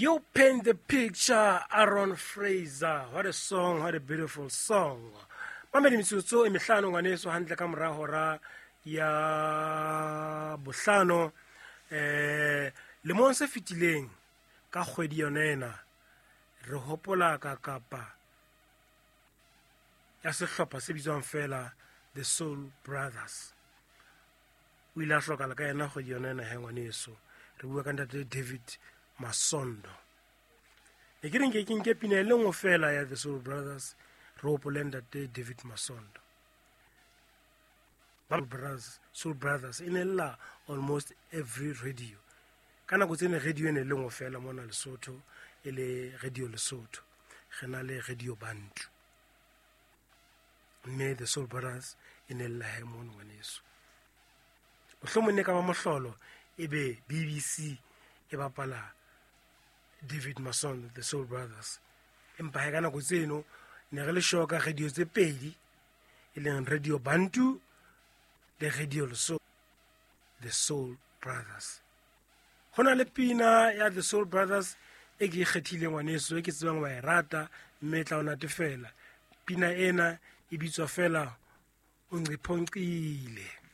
You paint the picture, Aaron Fraser. What a song, what a beautiful song. Mamedi metsotso e mehlano ngwaneso hantle ka mora hora ya bohlano. Lemong se fetileng ka kgwedi yona ena re hopola ka kapa ya sehlopha se bitswang fela The Soul Brothers. O ile a hlokala ka yena kgwedi yona ena he ngwaneso. Re bua ka ntate David Masondo. Ne ke re nke ke nke pina e le nngwe fela ya The Soul Brothers re hopole ntate David Masondo. Ba Brothers, Soul Brothers e ne lla almost every radio. Ka nako tsene radio e ne le nngwe fela mona Lesotho, e le Radio Lesotho. Re na le Radio Bantu. Mme The Soul Brothers e ne lla he mono ngwaneso. Mohlomong ne ka ba mohlolo e be BBC e bapala David Masondo, The Soul Brothers. Empa he ka nako tseno ne re le sure ka radio tse pedi, e leng Radio Bantu le Radio Lesotho, The Soul Brothers. Ho na le pina ya The Soul Brothers e ke e kgethileng ngwaneso, e ke tsebang wa e rata mme e tla o natefela. Pina ena e bitswa fela O Nqiphoqile.